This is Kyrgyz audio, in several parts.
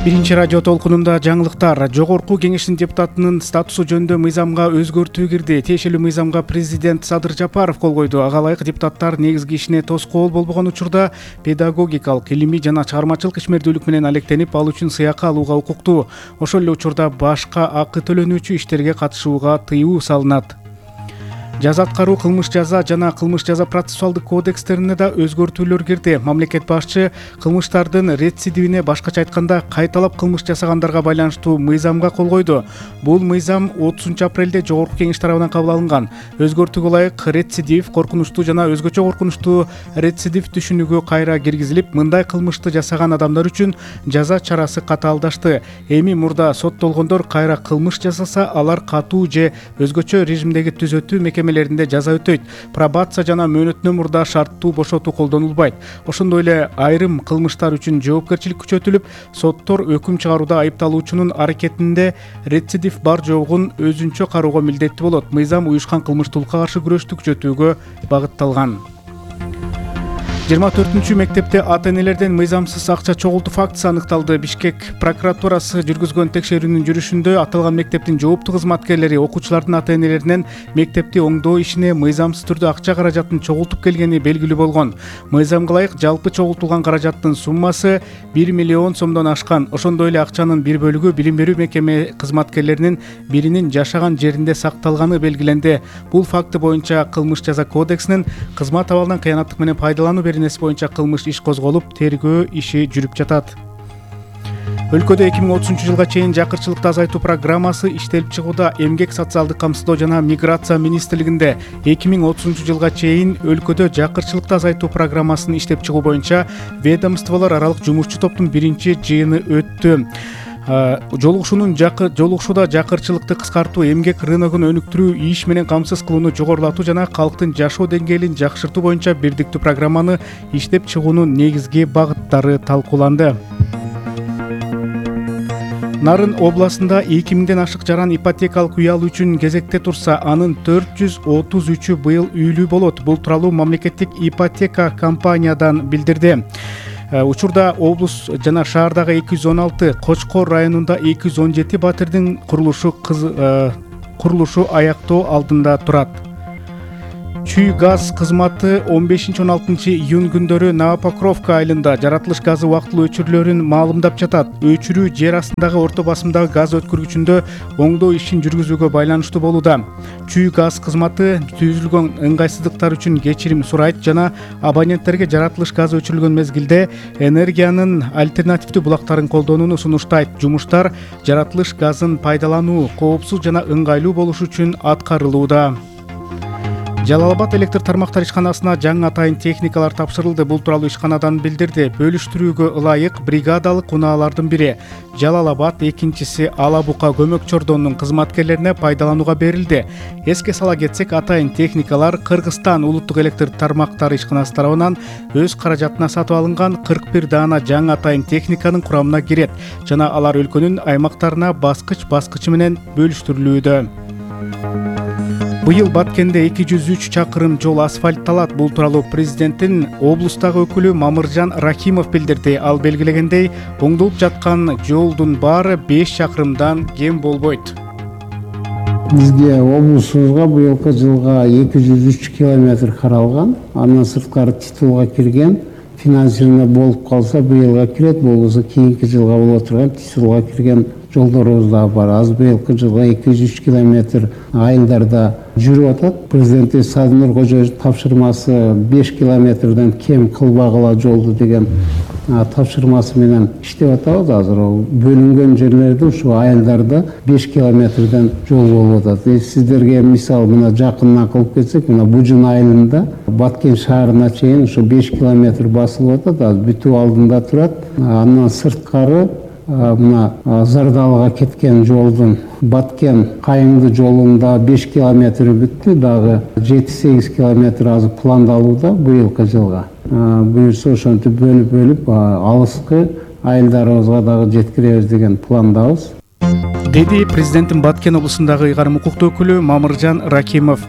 Биринчи радио толкунунда жаңылыктар. Жогорку кеңештин депутатынын статусу жөнүндө мыйзамга өзгөртүү кирди. Тиешелүү мыйзамга президент Садыр Жапаров кол койду. Ага ылайык депутаттар негизги ишине тоскоол болбогон учурда педагогикалык, илимий жана чыгармачылык ишмердүүлүк менен алектенип, ал үчүн сыйакы алууга укуктуу. Ошол эле учурда башка акы төлөнүүчү иштерге катышууга тыюу салынат. Жаза аткаруу, кылмыш жаза жана кылмыш жаза процессуалдык кодекстерине да өзгөртүүлөр кирди. Мамлекет башчы кылмыштардын рецидивине, башкача айтканда кайталап кылмыш жасагандарга байланыштуу мыйзамга кол койду. Бул мыйзам 30-апрелде жогорку кеңеш тарабынан кабыл алынган. Өзгөртүүгө ылайык рецидив, коркунучтуу жана өзгөчө коркунучтуу рецидив түшүнүгү кайра киргизилип, мындай кылмышты жасаган адамдар үчүн жаза чарасы катаалдашты. Эми мурда соттолгондор кайра кылмыш жасаса, алар катуу же өзгөчө режимдеги түзөтүү мекемелеринде жаза өтөйт. Пробация жана мөөнөтүнөн мурда шарттуу бошотуу колдонулбайт. Ошондой эле айрым кылмыштар үчүн жоопкерчилик күчөтүлүп, соттор өкүм чыгарууда айыпталуучунун аракетинде рецидив бар жогун өзүнчө кароого милдеттүү болот. Мыйзам уюшкан кылмыштуулукка каршы күрөштү күчөтүүгө багытталган. 24-мектепте ата-энелерден мыйзамсыз акча чогултуу фактысы аныкталды. Бишкек прокуратурасы жүргүзгөн текшерүүнүн жүрүшүндө аталган мектептин жооптуу кызматкерлери окуучулардын ата-энелеринен мектепти оңдоо ишине мыйзамсыз түрдө акча каражатын чогултуп келгени белгилүү болгон. Мыйзамга ылайык жалпы чогултулган каражаттын суммасы 1 миллион сомдон ашкан. Ошондой эле акчанын бир бөлүгү билим берүү мекеме кызматкерлеринин биринин жашаган жеринде сакталганы белгиленди. Бул факты боюнча кылмыш жаза кодексинин кызмат абалынан кыянаттык менен пайдалануу беренеси боюнча кылмыш иш козголуп, тергөө иши жүрүп жатат. Өлкөдө 2030 жылга чейин жакырчылыкты азайтуу программасы иштелип чыгууда. Эмгек, социалдык камсыздоо жана миграция министрлигинде 2030 жылга чейин өлкөдө жакырчылыкты азайтуу программасын иштеп чыгуу боюнча ведомстволор аралык жумушчу топтун биринчи жыйыны өттү. Жолугушууда жакырчылыкты кыскартуу, эмгек рыногун өнүктүрүү, иш менен камсыз кылууну жогорулатуу жана калктын жашоо деңгээлин жакшыртуу боюнча бирдиктүү программаны иштеп чыгуунун негизги багыттары талкууланды. Нарын областында 2000ден ашык жаран ипотекалык үй алуу үчүн кезекте турса, анын 433-ü быйыл үйлүү болот. Бул тууралуу мамлекеттик ипотека компаниядан билдирди. Учурда облус жана шаардагы 216, Кочкор районунда 217 батирдин курулушу аяктоо алдында турат. Чүй газ кызматы 15-16 июнь күндөрү Новопокровка айылында жаратылыш газы убактылуу өчүрүүлөрүн маалымдап жатат. Өчүрүү жер астындагы орто басымдагы газ өткөргүчүндө оңдоо ишин жүргүзүүгө байланыштуу болууда. Чүй газ кызматы түзүлгөн ыңгайсыздыктар үчүн кечирим сурайт жана абоненттерге жаратылыш газы өчүрүлгөн мезгилде энергиянын альтернативдүү булактарын колдонууну сунуштайт. Жумуштар жаратылыш газын пайдалануу коопсуз жана ыңгайлуу болуш үчүн аткарылууда. Жалал Абад электр тармактар ишканасына жаңы атайын техникалар тапшырылды. Бул тууралуу ишканадан билдирди. Бөлүштүрүүгө ылайык бригадалык унаалардын бири Жалал Абад, экинчиси Ала Бука көмөк чордонунун кызматкерлерине пайдаланууга берилди. Эске сала кетсек, атайын техникалар Кыргызстан улуттук электр тармактары ишканасы тарабынан өз каражатына сатып алынган 41 даана жаңы атайын техниканын курамына кирет жана алар өлкөнүн аймактарына баскыч менен бөлүштүрүлүүдө. Быйыл Баткенде 203 чакырым жол асфальтталат. Бул тууралуу президенттин облустагы өкүлү Мамыржан Рахимов билдирди. Ал белгилегендей, оңдолуп жаткан жолдун баары 5 чакырымдан кем болбойт. Бизге облусубузга быйылкы жылга 203 километр каралган. Андан сырткары титулга кирген, финансирование болуп калса быйылга кирет, болбосо кийинки жылга боло турган титулга кирген жолдорубуз да бар. Аз быйылкы жылга 203 километр айылдарда жүрүп атат. Президент Садынур Кожоевич тапшырмасы 5 километрден кем кылбагыла жолду деген тапшырмасы менен иштеп атабыз. Азыр бөлүнгөн жерлерде ушу айылдарда 5 километрден жол болуп атат. Сиздерге мисал мына жакынына кылып кетсек, мына Бужун айылында Баткен шаарына чейин ушу 5 километр басылып атат. Азыр бүтүү алдында турат. Андан сырткары мына Зардалыга кеткен жолдун Баткен Кайыңды жолунда 5 километр бүттү, дагы 7-8 километр азыр пландалууда быйылкы жылга. Буюрса ошентип бөлүп алыскы айылдарыбызга дагы жеткиребиз деген пландабыз. Деди президенттин Баткен облусундагы ыйгарым укуктуу өкүлү Мамыржан Ракимов.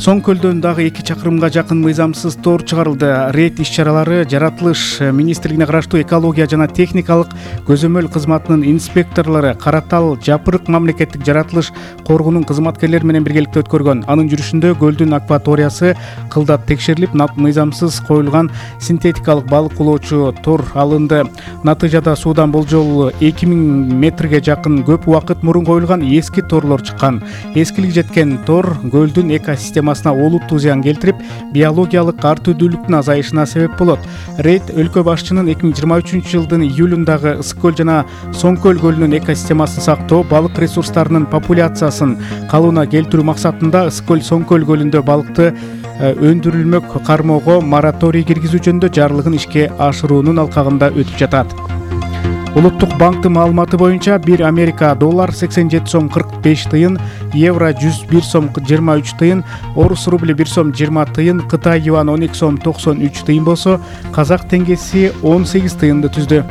Соң көлдөн дагы 2 чакырымга жакын мыйзамсыз тор чыгарылды. Рейд иш-чаралары жаратылыш министрлигине караштуу экология жана техникалык көзөмөл кызматынын инспекторлору Каратал Жапырык мамлекеттик жаратылыш коргоонун кызматкерлери менен биргеликте өткөргөн. Анын жүрүшүндө көлдүн акваториясы кылдат текшерилип, мыйзамсыз коюлган синтетикалык балык улоочу тор алынды. Натыйжада суудан болжол 2000 метрге жакын көп убакыт мурун коюлган эски торлор чыккан. Эскилик жеткен тор көлдүн экосистемасына олуттуу зыян келтирип, биологиялык ар түрдүүлүктүн азайышына себеп болот. Рейд өлкө башчынын 2023 жылдын июлундагы Ысык көл жана Соң көл көлүнүн экосистемасын сактоо, балык ресурстарынын популяциясын калыбына келтирүү максатында Ысык көл Соң көл көлүндө балыкты өндүрүлмөк кармоого мораторий киргизүү жөнүндө жарлыгын ишке ашыруунун алкагында өтүп жатат. Улуттук банктын маалыматы боюнча 1 Америка доллар 87 сом 45 тыйын, евро 101 сом 23 тыйын, орус рубли 1 сом 20 тыйын, Кытай юан 12 сом 93 тыйын болсо, казак теңгеси 18 тыйынды түздү.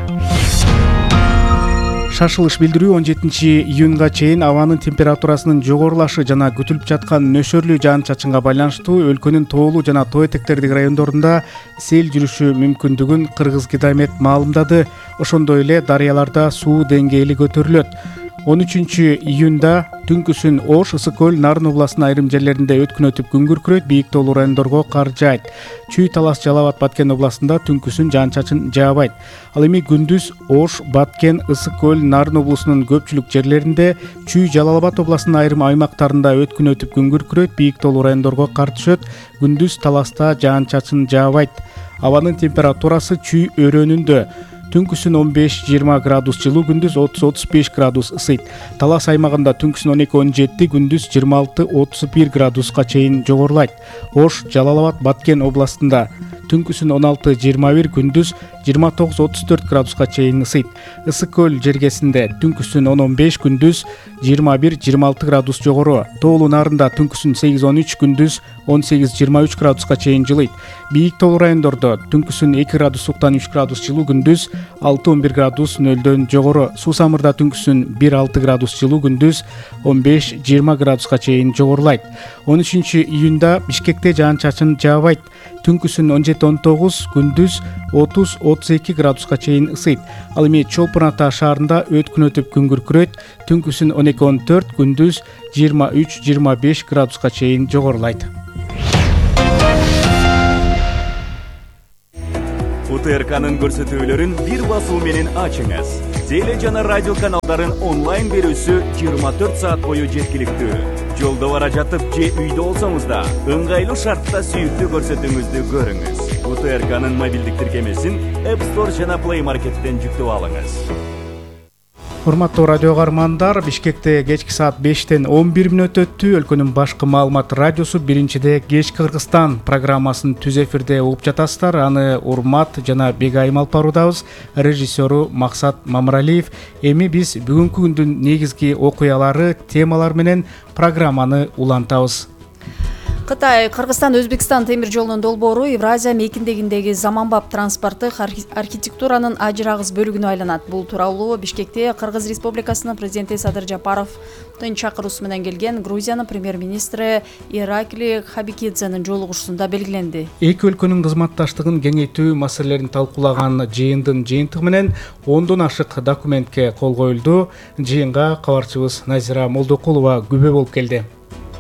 Шашылыш билдирүү 17 июнга чейин абанын температурасынын жогорулашы жана күтүлүп жаткан нөшөрлүү жаан-чачынга байланыштуу өлкөнүн тоолуу жана тоо этектердик райондорунда сел жүрүшү мүмкүндүгүн Кыргызгидромет маалымдады. Ошондой эле дарыяларда суу деңгээли көтөрүлөт. 13 июнда түнкүсүн Ош, Ысык көл, Нарын областынын айрым жерлеринде өткүн өтүп күн күркүрөйт, бийик тоолуу райондорго кар жаайт. Чүй, Талас, Жалал Абад, Баткен областында түнкүсүн жаан-чачын жаабайт. Ал эми күндүз Ош, Баткен, Ысык көл, Нарын облусунун көпчүлүк жерлеринде, Чүй, Жалал Абад областынын айрым аймактарында өткүн өтүп күн күркүрөйт, бийик тоолуу райондорго кар түшөт. Күндүз Таласта жаан-чачын жаабайт. Абанын температурасы Чүй өрөөнүндө түнкүсүн 15-20 градус жылуу, күндүз 30-35 градус ысыйт. Талас аймагында түнкүсүн 12-17, күндүз 26-31 градуска чейин жогорулайт. Ош, Жалал Абад, Баткен областында түнкүсүн 16-21, күндүз 29-34 градуска чейин ысыйт. Ысык көл жергесинде түнкүсүн 10-15, күндүз 21-26 градус жогору. Тоолуу Нарында түнкүсүн 8-13, күндүз 18-23 градуска чейин жылыйт. Бийик тоолуу райондордо түнкүсүн 2 градустан 3 градус жылуу, күндүз 6-11 градус нөлдөн жогору. Суусамырда түнкүсүн 1-6 градус жылуу, күндүз 15-20 градуска чейин жогорулайт. 13 июнда Бишкекте жаан-чачын жаабайт. Түнкүсүн 17-19, күндүз 30-32 градуска чейин ысыйт. Ал эми Чолпон Ата шаарында өткүн өтүп күн күркүрөйт. Түнкүсүн 12-14, күндүз 23-25 градуска чейин жогорулайт. УТРКнын көрсөтүүлөрүн бир басуу менен ачыңыз. Теле жана радио каналдарын онлайн берүүсү 24 саат бою жеткиликтүү. Жолдо бара жатып же үйдө болсоңуз да ыңгайлуу шартта сүйүктүү көрсөтүүңүздү көрүңүз. УТРКнын мобилдик тиркемесин App Store жана Play Market'тен жүктөп алыңыз. Урматтуу радио каармандар, Бишкекте кечки саат 5-тен 11 мүнөт өттү. Өлкөнүн башкы маалымат радиосу биринчиде Кечки Кыргызстан программасын түз эфирде угуп жатасыздар. Аны Урмат жана Бегайым алып баруудабыз. Режиссеру Максат Мамыралиев. Эми биз бүгүнкү күндүн негизги окуялары, темалар менен программаны улантабыз. Кытай Кыргызстан Өзбекстан темир жолунун долбоору Евразия мейкиндегиндеги заманбап транспорттук архитектуранын ажырагыс бөлүгүнө айланат. Бул тууралуу Бишкекте Кыргыз Республикасынын президенти Садыр Жапаровдун чакыруусу менен келген Грузиянын премьер-министри Иракли Хабикидзенин жолугушуусунда белгиленди. Эки өлкөнүн кызматташтыгын кеңейтүү маселелерин талкуулаган жыйындын жыйынтыгы менен 10дон ашык документке кол коюлду. Жыйынга кабарчыбыз Назира Молдокулова күбө болуп келди.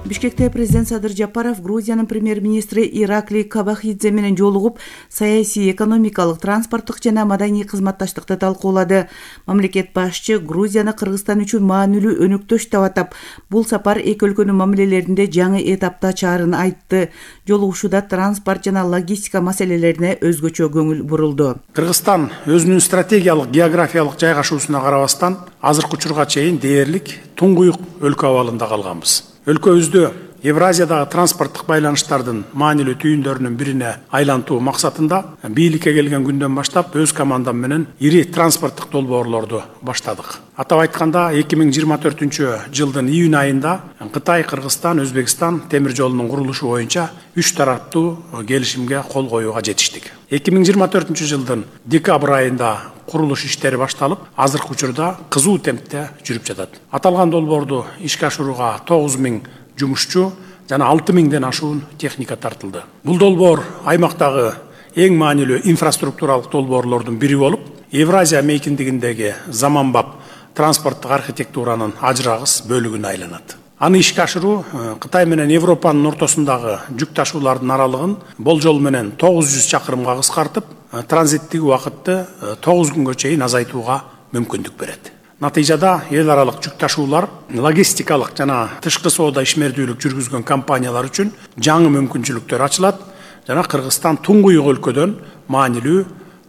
Бишкекте президент Садыр Жапаров Грузиянын премьер-министри Иракли Кабахидзе менен жолугуп, саясий, экономикалык, транспорттук жана маданий кызматташтыкты талкуулады. Мамлекет башчы Грузияны Кыргызстан үчүн маанилүү өнөктөш деп атап, бул сапар эки өлкөнүн мамилелеринде жаңы этапта ачаарын айтты. Жолугушууда транспорт жана логистика маселелерине өзгөчө көңүл бурулду. Кыргызстан өзүнүн стратегиялык географиялык жайгашуусуна карабастан азыркы учурга чейин дээрлик туңгуюк өлкө абалында калганбыз. Өлкөбүздө Евразиядагы транспорттук байланыштардын маанилүү түйүндөрүнүн бирине айлантуу максатында бийликке келген күндөн баштап өз командам менен ири транспорттук долбоорлорду баштадык. Атап айтканда 2024 жылдын июнь айында Кытай, Кыргызстан, Өзбекстан темир жолунун курулушу боюнча 3 тараптуу келишимге кол коюуга жетиштик. 2024 жылдын декабрь айында курулуш иштери башталып, азыркы учурда кызуу темпте жүрүп жатат. Аталган долбоорду ишке ашырууга 9000 жумушчу жана 6000ден ашуун техника тартылды. Бул долбоор аймактагы эң маанилүү инфраструктуралык долбоорлордун бири болуп, Евразия мейкиндигиндеги заманбап транспорттук архитектуранын ажырагыс бөлүгүнө айланат. Аны ишке ашыруу Кытай менен Европанын ортосундагы жүк ташуулардын аралыгын болжол менен 900 чакырымга кыскартып, транзиттик убакытты 9 күнгө чейин азайтууга мүмкүндүк берет. Натыйжада эл аралык жүк ташуулар, логистикалык жана тышкы соода ишмердүүлүк жүргүзгөн компаниялар үчүн жаңы мүмкүнчүлүктөр ачылат жана Кыргызстан туңгуюк өлкөдөн маанилүү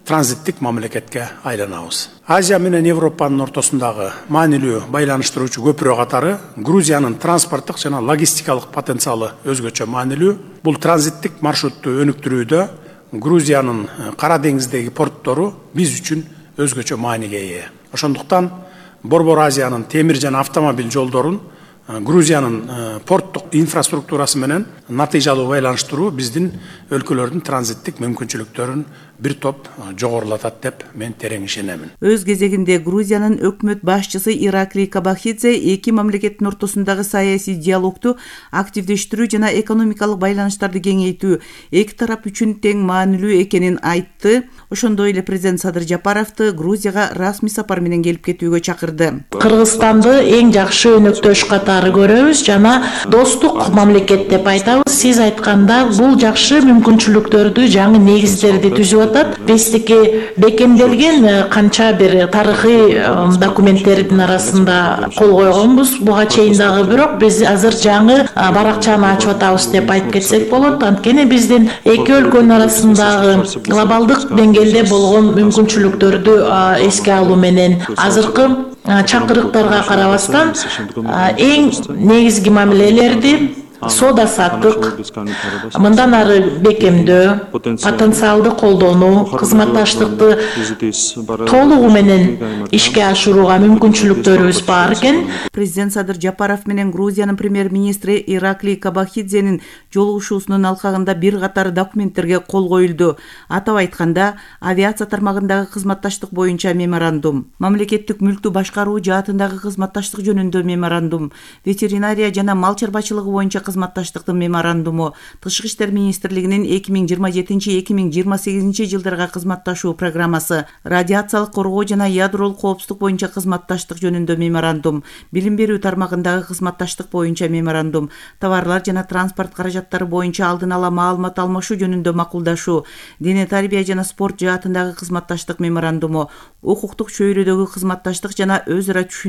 транзиттик мамлекетке айланабыз. Азия менен Европанын ортосундагы маанилүү байланыштыруучу көпүрө катары Грузиянын транспорттук жана логистикалык потенциалы өзгөчө маанилүү. Бул транзиттик маршрутту өнүктүрүүдө Грузиянын Кара деңиздеги порттору биз үчүн өзгөчө мааниге ээ. Ошондуктан Борбор Азиянын темир жана автомобиль жолдорун Грузиянын порттук инфраструктурасы менен натыйжалуу байланыштыруу биздин өлкөлөрдүн транзиттик мүмкүнчүлүктөрүн бир топ жогорулатат деп мен терең ишенемин. Өз кезегинде Грузиянын өкмөт башчысы Ираклий Кабахидзе эки мамлекеттин ортосундагы саясий диалогду активдештирүү жана экономикалык байланыштарды кеңейтүү эки тарап үчүн тең маанилүү экенин айтты. Ошондой эле президент Садыр Жапаровду Грузияга расмий сапар менен келип кетүүгө чакырды. Кыргызстанды эң жакшы өнөктөш катары көрөбүз жана достук мамлекет деп айтабыз. Сиз айтканда бул жакшы мүмкүнчүлүктөрдү, жаңы негиздерди түзүп атат. Биздики бекемделген канча бир тарыхый документтердин арасында кол койгонбуз. Буга чейин дагы бирок биз азыр жаңы баракчаны ачып атабыз деп айтып кетсек болот. Анткени биздин эки өлкөнүн арасындагы глобалдык деңгээлде болгон мүмкүнчүлүктөрдү эске алуу менен азыркы чакырыктарга карабастан эң негизги мамилелерди соода саттык, мындан ары бекемдөө, потенциалды колдонуу, кызматташтыкты толугу менен ишке ашырууга мүмкүнчүлүктөрүбүз бар экен. Президент Садыр Жапаров менен Грузиянын премьер-министри Ираклий Кабахидзенин жолугушуусунун алкагында бир катар документтерге кол коюлду. Атап айтканда, авиация тармагындагы кызматташтык боюнча меморандум, мамлекеттик мүлктү башкаруу жаатындагы кызматташтык жөнүндө меморандум, ветеринария жана мал чарбачылыгы боюнча кызматташтыктын меморандуму, Тышкы иштер министрлигинин 2027-2028 жылдарга кызматташуу программасы, радиациялык коргоо жана ядролук коопсуздук боюнча кызматташтык жөнүндө меморандум, билим берүү тармагындагы кызматташтык боюнча меморандум, товарлар жана транспорт каражаттары боюнча алдын ала маалымат алмашуу жөнүндө макулдашуу, дене тарбия жана спорт жаатындагы кызматташтык меморандуму, укуктук чөйрөдөгү кызматташтык жана өз ара